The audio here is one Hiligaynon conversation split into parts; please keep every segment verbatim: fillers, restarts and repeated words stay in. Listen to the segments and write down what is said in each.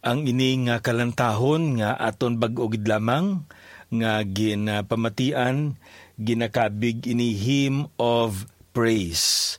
Ang ini nga kalantahon nga aton bag-o gid lamang nga ginapamatian, ginakabig ini Hymn of Praise.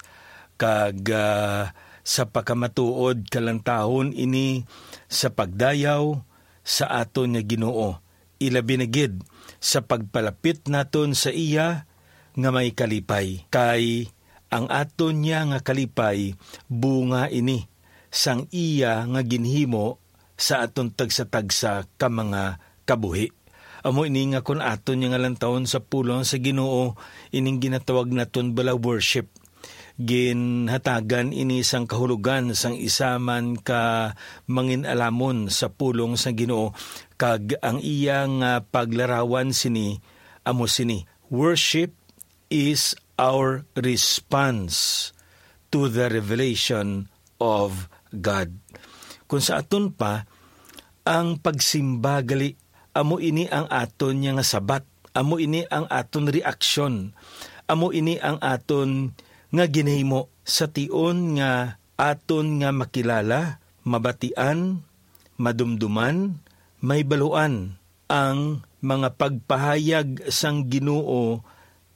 Kag, ah, sa pagkamatuod, kalantahon ini sa pagdayaw sa aton nga Ginoo, ilabi na gid sa pagpalapit naton sa iya nga may kalipay. Kay ang aton niya nga kalipay, bunga ini sang iya nga ginhimo sa aton tagsa-tagsa ka mga kabuhi. Amo ini nga kon aton niya nga lantawon sa pulong sa Ginoo, ining ginatawag naton bala worship, ginhatagan ini sang kahulogan sang isa man ka mangin-alamon sa pulong sa Ginoo, kag ang iya nga paglarawan sini amo sini: "Worship is our response to the revelation of God." Kung sa aton pa, ang pagsimba gali, amo ini ang aton niya nga sabat, amo ini ang aton reaksyon, amo ini ang aton nga ginahimo sa tion nga aton nga makilala, mabatian, madumduman, mahibaluan ang mga pagpahayag sang Ginoo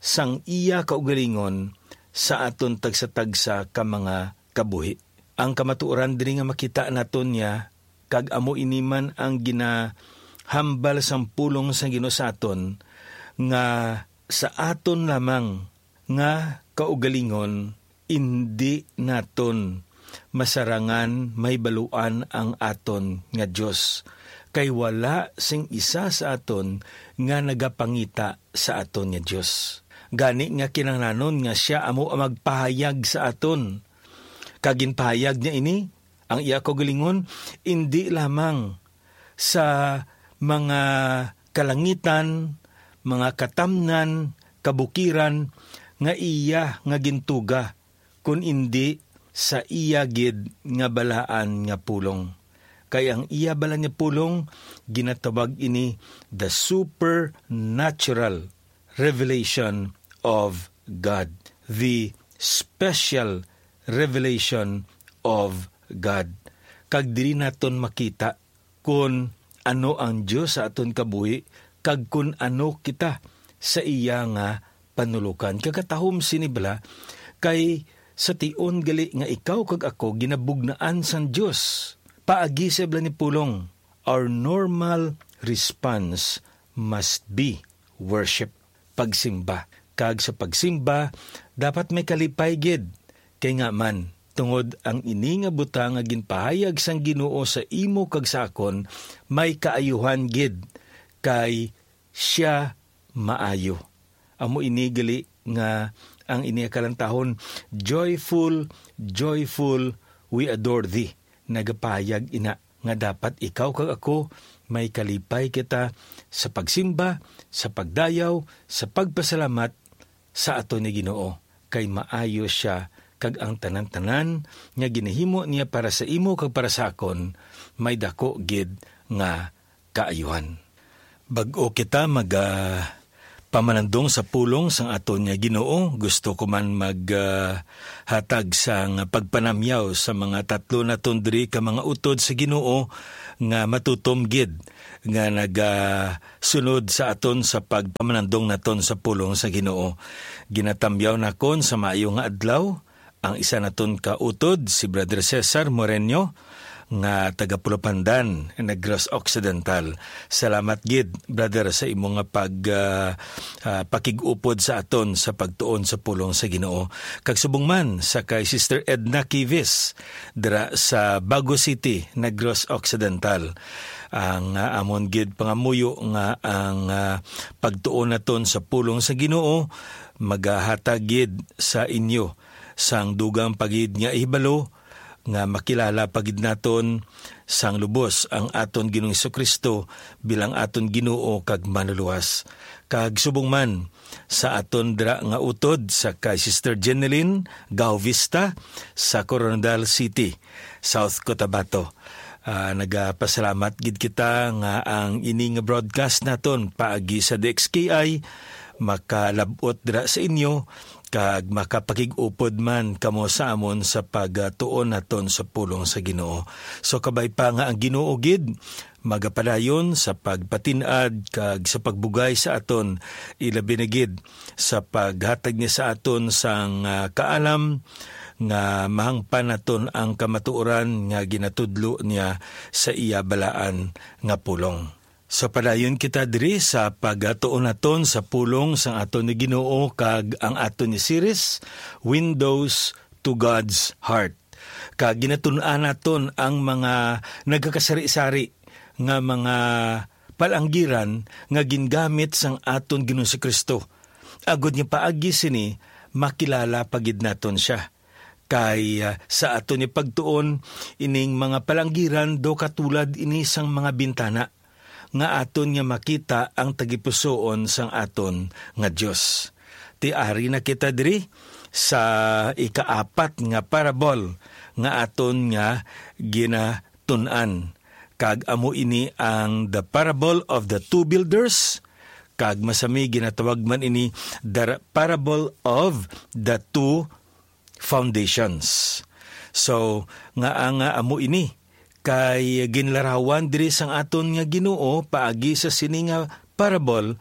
sang iya kaugalingon sa aton tagsa-tagsa ka mga kabuhi. Ang kamatuoran diri nga makita naton niya, kag amo ini man ang ginahambal sang pulong sang Ginoo sa aton, nga sa aton lamang nga kaugalingon, indi naton masarangan mahibaluan ang aton nga Dios, kay wala sing isa sa aton nga nagapangita sa aton nga Dios. Gani nga kinahanglanon nga sia amo ang magpahayag sa aton. Kag ginpahayag niya ini, ang iya kaugalingon, indi lamang sa mga kalangitan, mga katamnan, kabukiran nga iya nga gintuga, kun indi sa iya gid nga balaan nga pulong. Kay ang iya balaan nga pulong, ginatawag ini the supernatural revelation of God, the special revelation of God. Kag diri naton makita kon ano ang Dios sa aton kabuhi, kag kon ano kita sa iya nga panulokan. Kag katahom sini bala, kay sa tion gali nga ikaw kag ako ginabugnaan sang Dios paagi sa bala ni pulong, our normal response must be worship, pagsimba. Kag sa pagsimba, dapat may kalipay gid. Kay nga man, tungod ang ini nga butang nga ginpahayag sang Ginoo sa imo kag sa akon, may kaayuhan gid, kay sia maayo. Amo ini gali nga ang ini nga kalantahon, "Joyful, joyful, we adore thee." Nagapahayag ina nga dapat ikaw kag ako may kalipay kita sa pagsimba, sa pagdayaw, sa pagpasalamat sa aton nga Ginoo, kay maayo sia, kag ang tanan-tanan nga ginahimo niya para sa imo kag para sa akon may daku gid nga kaayuhan. Bag-o kita maga pamanandong sa pulong sang aton nga Ginoo, gusto ko man mag, ah, hatag sang pagpanamyaw sa mga tatlo naton diri ka mga utod sa Ginoo nga matutom gid nga nagasunod sa aton sa pagpamanandong naton sa pulong sa Ginoo. Ginatamyaw nakon sa maayo nga adlaw ang isa naton ka utod, si Brother Cesar Moreno, nga taga Pulapandan, Negros Occidental. Salamat gid, brother, sa imo nga pag, ah, ah, pakig-upod sa aton sa pagtuon sa pulong sa Ginoo. Kag subong man sa kay Sister Edna Kivis dira sa Bago City, Negros Occidental. Ang, ah, amon gid pangamuyo nga ang, ah, pagtuon naton sa pulong sa Ginoo magahatag gid sa inyo sang dugang pa gid nga ihibalo, nga makilala pa gid naton sang lubos ang aton Ginoong Jesu-Cristo bilang aton Ginoo kag Manluluwas. Kag subong man sa aton dira nga utod sa kay Sister Jeneline Gaovista sa Koronadal City, South Cotabato. Ah, nagapasalamat gid kita nga ang ini nga broadcast naton paagi sa D X K I makalab-ot dira sa inyo, kag makapakig-upod man kamo sa amon sa pagtuon naton sa pulong sa Ginoo. So, kabay pa nga ang Ginoo gid magapadayon sa pagpatin-ad kag sa pagbugay sa aton, ilabi na gid sa paghatag niya sa aton sang, ah, kaalam nga mahangpan naton ang kamatuoran nga ginatudlo niya sa iya balaan nga pulong. So, padayon kita diri sa pagtuon naton sa pulong sang aton nga Ginoo kag ang aton nga series, Windows to God's Heart. Kag ginatun-an naton ang mga nagakasari-sari nga mga palanggiran nga gingamit sang aton Ginoong Kristo, agod nga paagi sini makilala pa gid naton sia. Kay, ah, sa aton nga pagtuon, ining mga palanggiran daw katulad ini sang mga bintana nga aton nga makita ang tagipusoon sang aton nga Dios. Ti ari na kita diri sa ikaapat nga parable nga aton nga ginatun-an, kag amo ini ang the parable of the two builders, kag masami ginatawag man ini the parable of the two foundations. So, nga ang, ah, amo ini kay ginlarawan diri sang aton nga Ginoo paagi sa sini nga parable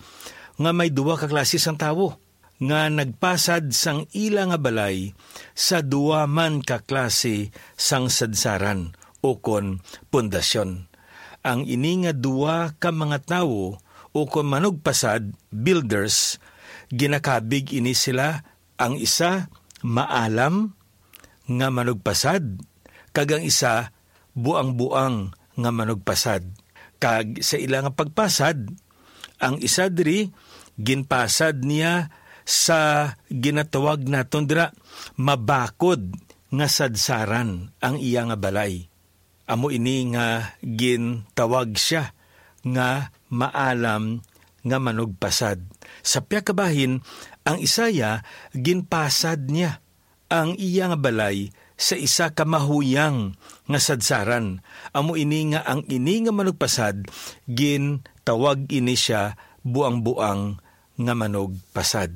nga may duha ka klase sang tawo nga nagpasad sang ila nga balay sa duha man ka klase sang sadsaran ukon pundasyon. Ang ini nga duha ka mga tawo ukon manugpasad, builders, ginakabig ini sila, ang isa maalam nga manugpasad, kag ang isa buang-buang nga manugpasad. Kag sa ila nga pagpasad, ang isa diri ginpasad niya sa ginatawag naton dira mabakod nga sadsaran ang iya nga balay. Amo ini nga gintawag sia nga maalam nga manugpasad. Sa pihak ka bahin, ang isa iya ginpasad niya ang iya nga balay sa isa ka mahuyang nga sadsaran. Amo ini nga ang ini nga manugpasad, gintawag ini sia buang-buang nga manugpasad.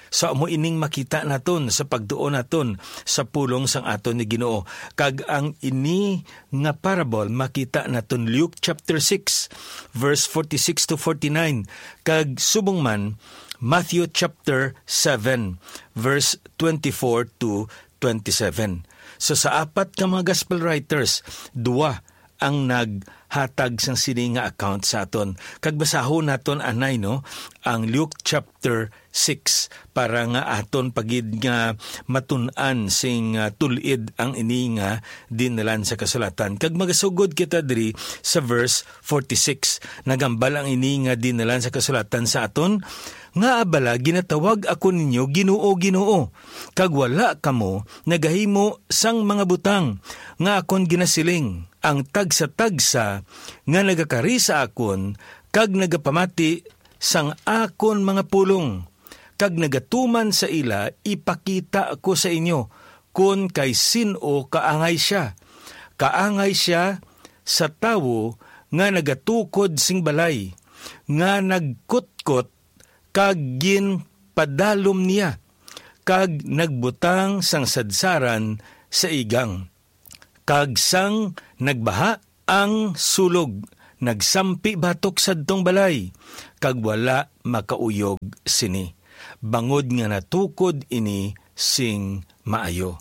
So, amo ining makita naton sa pagtuon naton sa pulong sang aton ni Ginoo. Kag ang ini nga parable makita naton Luke chapter six, verse forty-six to forty-nine, kag subong man Matthew chapter seven, verse twenty-four to twenty-seven. So, sa apat ka mga gospel writers, duwa ang naghatag sang sini nga account sa aton. Kag basahon naton anay, no, ang Luke chapter six, para nga aton pa gid nga matun-an sing, ah, tul-id ang ini nga dinalan sa kasulatan. Kag magasugod kita diri sa verse forty-six. Nagambal ang ini nga dinalan sa kasulatan sa aton, "Ngaa bala ginatawag ako ninyo, 'Ginoo, Ginoo,' kag wala kamo nagahimo sang mga butang nga akon ginasiling?" Ang tagsa-tagsa nga nagakari sa akon kag nagapamati sang akon mga pulong, kag nagatuman sa ila, ipakita ko sa inyo kon kay sin-o kaangay sia. Kaangay sia sa tawo nga nagatukod sing balay, nga nagkutkot kag ginpadalom niya, kag nagbutang sang sadsaran sa igang. Kag sang nagbaha ang sulog, nagsampi batok sadtong balay, kag wala makauyog sini, bangod nga natukod ini sing maayo.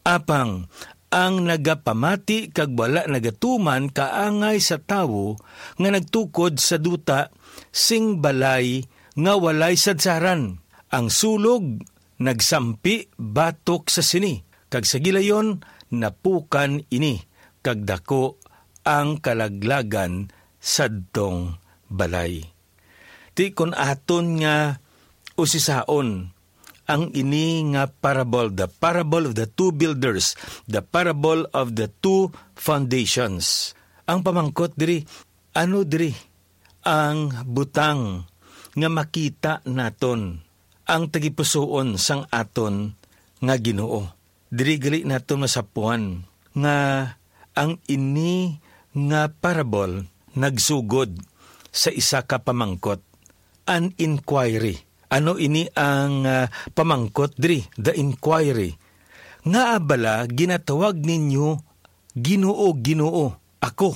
Apang ang nagapamati kag wala nagatuman kaangay sa tawo nga nagtukod sa duta sing balay nga walay sadsaran. Ang sulog nagsampi batok sa sini, kag sa gilayon napukan ini, kag daku ang kalaglagan sadtong balay. Ti kon aton nga usisaon ang ini nga parable, the parable of the two builders, the parable of the two foundations. Ang pamangkot diri, ano diri ang butang nga makita naton ang tagipusoon sang aton nga Ginoo? Diri gali naton masapuan nga ang ini nga parable nagsugod sa isa ka pamangkot, an inquiry. Ano ini ang, ah, pamangkot diri, the inquiry? Ngaa bala ginatawag ninyo, "Ginoo, Ginoo, ako,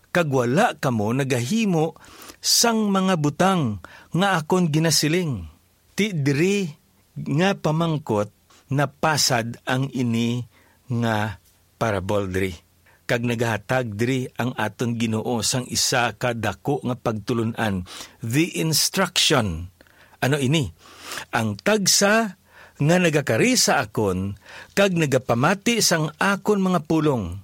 kag wala kamo nagahimo sang mga butang nga akon ginasiling?" Ti diri nga pamangkot napasad ang ini nga parable diri, kag nagahatag diri ang aton Ginoo sang isa ka daku nga pagtulon-an, the instruction. Ano ini? "Ang tagsa nga nagakari sa akon kag nagapamati sang akon mga pulong,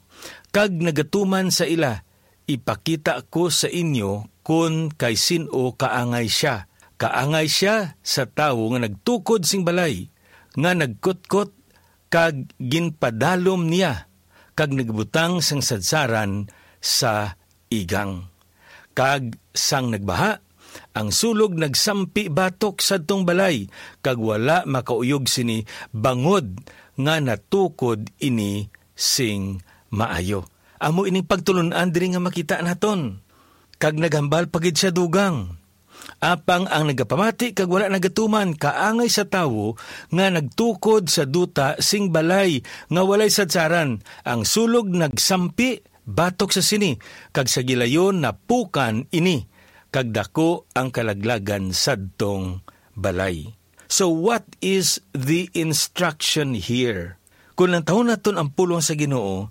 kag nagatuman sa ila, ipakita ko sa inyo kon kay sin-o kaangay sia. Kaangay sia sa tawo nga nagtukod sing balay, nga nagkutkot kag ginpadalom niya, kag nagbutang sang sadsaran sa igang. Kag sang nagbaha, ang sulog nagsampi batok sadtong balay, kag wala makauyog sini, bangod nga natukod ini sing maayo." Amo ining pagtulon-an diri nga makita naton. Kag naghambal pa gid sia dugang, "Apang ang nagapamati kag wala nagatuman kaangay sa tawo nga nagtukod sa duta sing balay nga walay sadsaran. Ang sulog nagsampi batok sa sini, kag sa gilayon napukan ini, kag daku ang kalaglagan sadtong balay." So, what is the instruction here? Kung lantawon naton ang pulong sa Ginoo,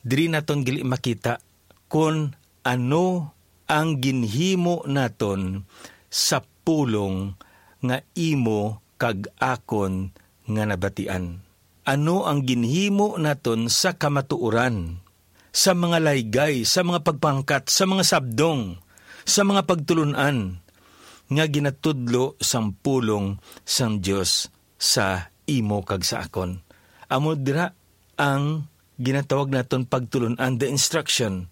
diri naton gali makita kon ano ang ginhimo naton sa pulong nga imo kag akon nga nabatian. Ano ang ginhimo naton sa kamatuoran, sa mga laygay, sa mga pagpangkat, sa mga sabdong, sa mga pagtulon-an nga ginatudlo sang pulong sang Dios sa imo kag sa akon? Amo dira ang ginatawag naton pagtulon-an, the instruction,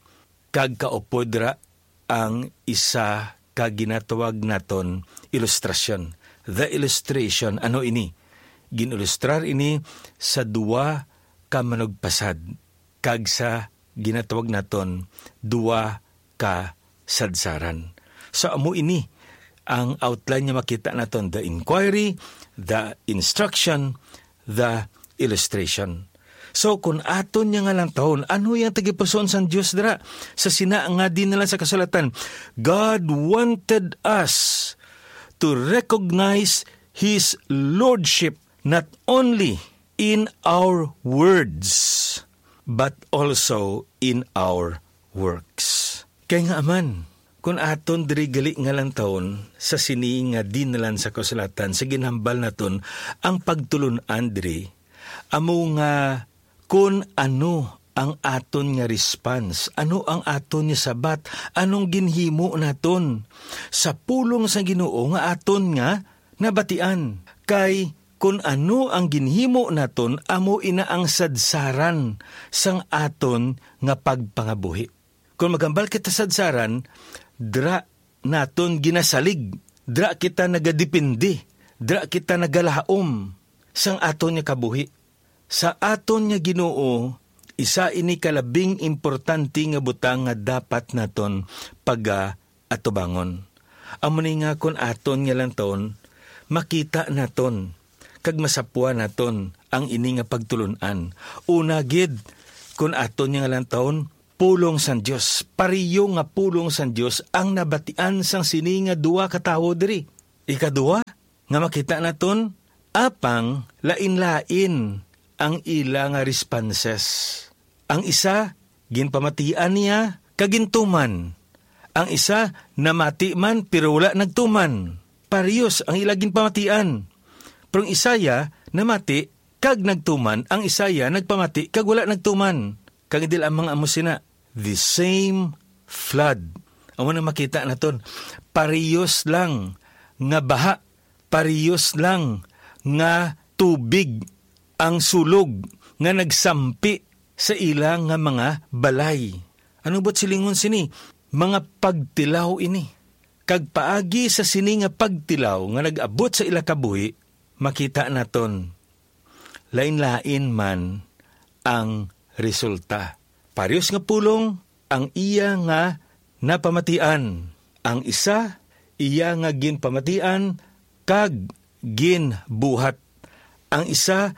kag kaupod ra ang isa ka ginatawag naton ilustrasyon. The illustration, ano ini? Gin-ilustrar ini sa duwa ka manugpasad kag sa ginatawag naton duwa ka sadsaran. So, amo ini ang outline nga makita naton, the inquiry, the instruction, the illustration. So, kun aton niya nga lantawon, ano yang tagipusoon sang Dios dira sa sina nga dinalan sa kasulatan? God wanted us to recognize His lordship not only in our words, but also in our works. Kay nga man, kun aton diri gali nga lantawon sa sini nga dinalan sa kasulatan sa ginhambal naton, ang pagtulon-an diri amo nga kun ano ang aton nga response, ano ang aton nga sabat, anong ginhimo naton sa pulong sa Ginoo nga aton nga nabatian. Kay kun ano ang ginhimo naton, amo ina ang sadsaran sang aton nga pagpangabuhi. Kon maghambal kita sadsaran, dira naton ginasalig, dira kita nagadepende, dira kita nagalaom sang aton nga kabuhi. Sa aton nga Ginoo, isa ini ka labing importante nga butang nga dapat naton pagaatubangon. Amo ni nga kon aton nga lantawon, makita naton kag masapwa naton ang ini nga pagtulon-an. Una gid, kon aton nga lantawon, pulong sang Dios, pareho nga pulong sang Dios ang nabatian sang sini nga duwa ka tawo diri. Ikaduha, nga makita naton, apang lain-lain ang ila nga responses. Ang isa, ginpamatian niya kag gintuman. Ang isa, namati man pero wala nagtuman. Parehos ang ila ginpamatian. Pero ang isaya namati kag nagtuman, ang isaya nagpamati kag wala nagtuman. Kag dila ang mga amo sina, the same flood. Amo na makita naton, parehos lang nga baha, parehos lang nga tubig ang sulog nga nagsampi sa ila nga mga balay. Ano ba't silingon sini? Mga pagtilaw ini. Kag paagi sa sini nga pagtilaw nga nag-abot sa ila kabuhi, makita naton, lain-lain man ang resulta. Parehos nga pulong ang iya nga napamatian. Ang isa, iya nga ginpamatian, kag ginbuhat. Ang isa,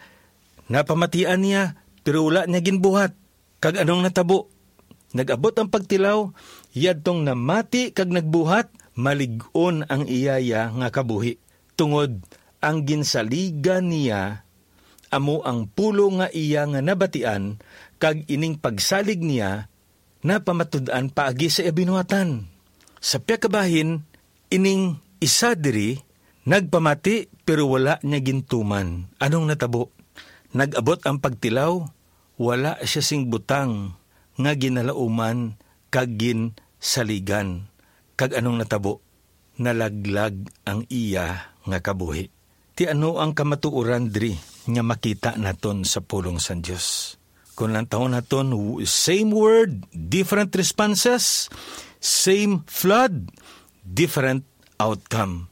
napamatian niya, pero wala niya ginbuhat. Kag anong natabo? Nag-abot ang pagtilaw, yadtong namati kag nagbuhat, malig-on ang iyaya nga kabuhi. Tungod ang ginsaligan niya amo ang pulong nga iya nga nabatian, kag ining pagsalig niya napamatud-an paagi sa iya binuhatan. Sa pihak ka bahin, ining isa diri nagpamati, pero wala niya gintuman. Anong natabo? Nag-abot ang pagtilaw, wala siya sing butang nga ginalauman kag ginsaligan. Kag anong natabo? Nalaglag ang iya nga kabuhi. Ti ano ang kamatuoran diri nga makita naton sa pulong sang Dios? Kung lantawon naton, w-, same word, different responses, same flood, different outcome.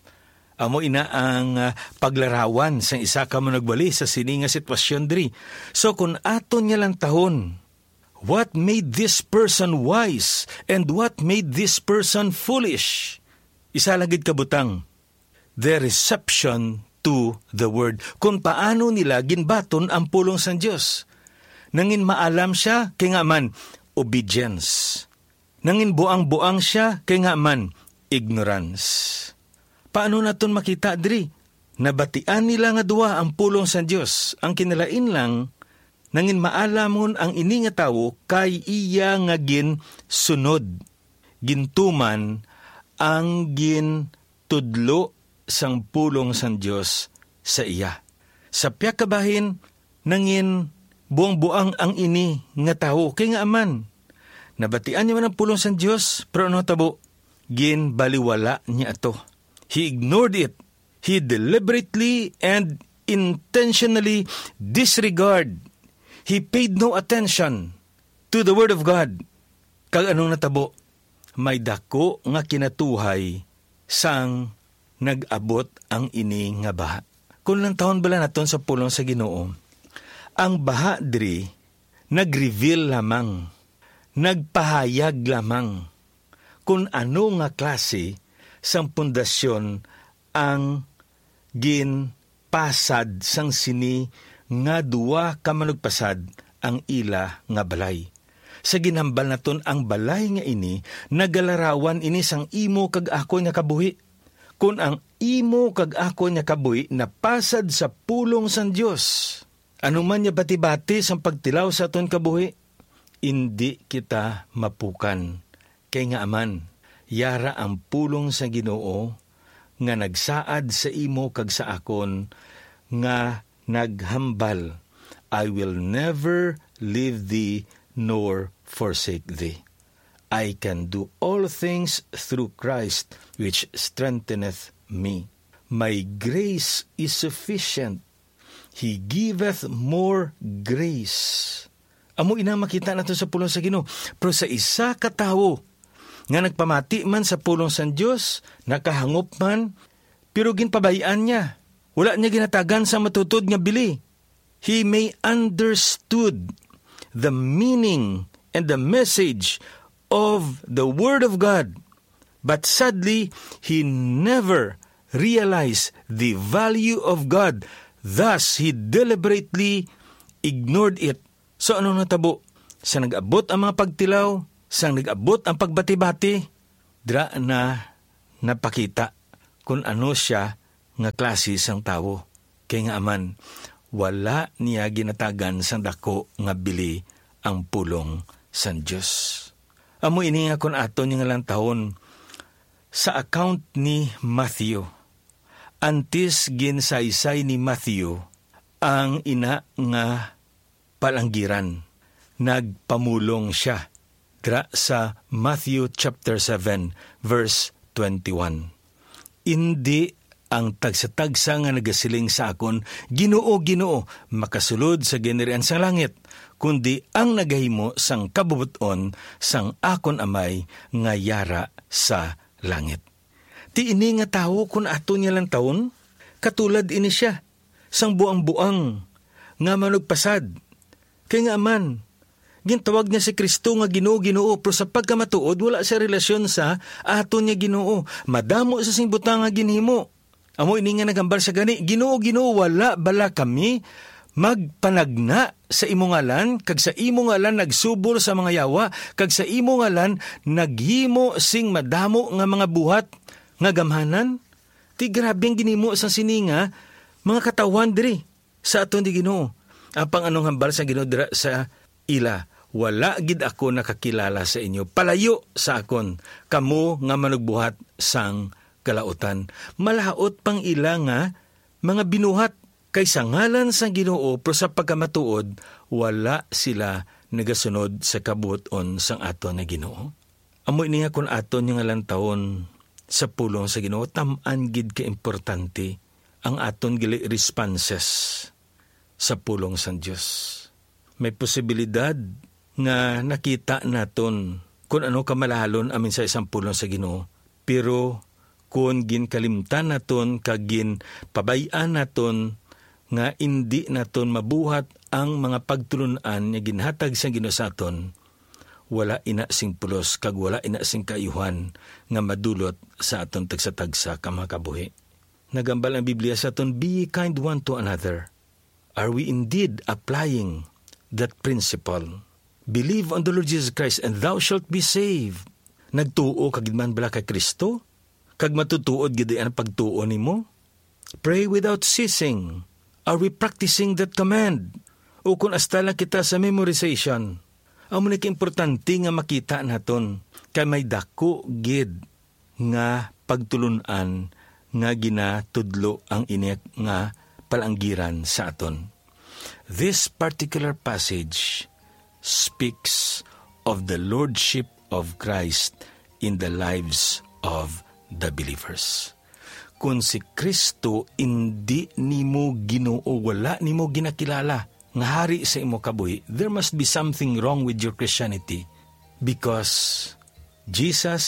Amo ina ang, ah, paglarawan sang isa ka manugwali sa sini nga sitwasyon diri. So, kung aton nga lantawon, what made this person wise and what made this person foolish? Isa lang gid ka butang, the reception to the word. Kung paano nila ginbaton ang pulong sang Dios. Nangin maalam siya, kay nga man, obedience. Nangin buang-buang siya, kay nga man, ignorance. Paano naton makita diri? Nabatian nila nga duha ang pulong sang Dios. Ang kinalain lang, nangin maalamon ang ini nga tawo kay iya nga ginsunod, gintuman ang gintudlo sang pulong sang Dios sa iya. Sa pihak ka bahin, nangin buang-buang ang ini nga tawo, kay nga man, nabatian niya man ang pulong sang Dios, pero ano tabo? Ginbaliwala niya ato. He ignored it. He deliberately and intentionally disregard. He paid no attention to the word of God. Kag anong natabo? May dako nga kinatuhay sang nag-abot ang ini nga baha. Kung lantawon bala naton sa pulong sa Ginoo, ang baha diri nag-reveal lamang, nagpahayag lamang kung ano nga klase sang pundasyon ang ginpasad sang sini nga duha ka manugpasad ang ila nga balay. Sa ginhambal naton, ang balay nga ini, nagalarawan ini sang imo kag akon nga kabuhi. Kon ang imo kag akon nga kabuhi napasad sa pulong sang Dios, ano man nga bati-bati sang pagtilaw sa aton kabuhi, indi kita mapukan. Kay nga man, yara ang pulong sa Ginoo nga nagsaad sa imo kag sa akon, nga naghambal, "I will never leave thee nor forsake thee. I can do all things through Christ which strengtheneth me. My grace is sufficient. He giveth more grace." Amo ina makita nato sa pulong sa Ginoo. Pero sa isa ka tawo nga nagpamati man sa pulong sang Dios, nakahangop man, pero ginpabay-an niya, wala niya ginatagan sa matuod nga bili. He may understood the meaning and the message of the Word of God, but sadly, he never realized the value of God. Thus, he deliberately ignored it. So, ano natabo? Sa nag-abot ang mga pagtilaw, sa nag-abot ang pagbati-bati, dira na napakita kung ano siya nga klase sang tawo. Kay nga man, wala niya ginatagan sang dako nga bili ang pulong sang Dios. Amo ini nga kon aton nga lantawon sa account ni Matthew. Antes ginsaysay ni Matthew ang ina nga palanggiran, nagpamulong sia dira sa Matthew chapter seven, verse twenty-one. Indi ang tagsatagsa nga nagasiling sa akon, "Ginoo, Ginoo," makasulod sa ginharian sang langit, kundi ang nagahimo sang kabubot-on sang akon Amay nga yara sa langit. Ti ini nga tawo, kun aton nga lantawon, katulad ini sia sang buang-buang nga manugpasad. Kay nga man, gintawag niya si Cristo nga Ginoo, Ginoo, pero sa pagkamatuod, wala siya relasyon sa aton nga Ginoo. Madamo sa sing butang nga ginhimo. Amo ini nga nagambal sa gani, "Ginoo, Ginoo, wala bala kami magpanagna sa imo ngalan, kag sa imo ngalan nagsubol sa mga yawa, kag sa imo ngalan naghimo sing madamo nga mga buhat nga gamhanan?" Ti grabe ang ginhimo sang sini nga mga katawhan diri sa aton ni Ginoo. Apang anong hambal sang Ginoo dira sa ila? "Wala gid ako nakakilala sa inyo. Palayo sa akon, kamo nga manugbuhat sang kalautan." Malaut pang ila nga mga binuhat, kay sa ngalan sang Ginoo, pero sa pagkamatuod, wala sila nagasunod sa kabuton sang aton nga Ginoo. Amo ini nga kon aton nga lantawon sa pulong sa Ginoo, tam-an gid ka importante ang aton gali responses sa pulong sang Dios. May posibilidad nga nakita naton kon ano kamalahalon ang mensahe sang pulong sa Ginoo, pero kon ginkalimtan naton kag ginpabay-an naton nga indi naton mabuhat ang mga pagtulon-an nga ginhatag sang Ginoo sa aton, wala ina sing pulos kag wala ina sing kaayuhan nga madulot sa aton tagsa-tagsa ka mga kabuhi. Nagambal ang Biblia sa aton, "Be ye kind one to another." Are we indeed applying that principle? "Believe on the Lord Jesus Christ and thou shalt be saved." Nagtuo ka gid man bala kay Kristo? Kag matutuod gid ang pagtuo nimo? "Pray without ceasing." Are we practicing that command? O kung hasta lang kita sa memorization? Amo ni kaimportante nga makita naton, kay may daku gid nga pagtulon-an nga ginatudlo ang ini nga palanggiran sa aton. This particular passage speaks of the lordship of Christ in the lives of the believers. Kung si Kristo indi nimo Ginoo, wala nimo ginakilala nga hari sa imo kabuhi, there must be something wrong with your Christianity, because Jesus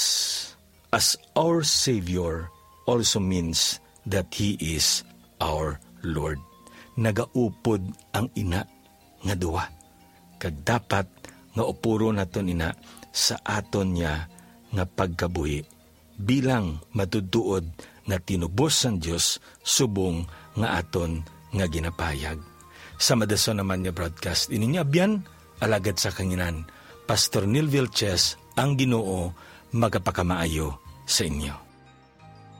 as our Savior also means that He is our Lord. Nagaupod ang ina nga duwa, kag dapat nga upuron naton ina sa aton niya nga pagkabuhi bilang matutuod nga tinubos sang Dios subong nga aton nga ginapahayag. Sa madason naman nga broadcast, ini nga abyan, alagad sa kanginan, Pastor Neil Vilches, ang Ginoo magapakamaayo sa inyo.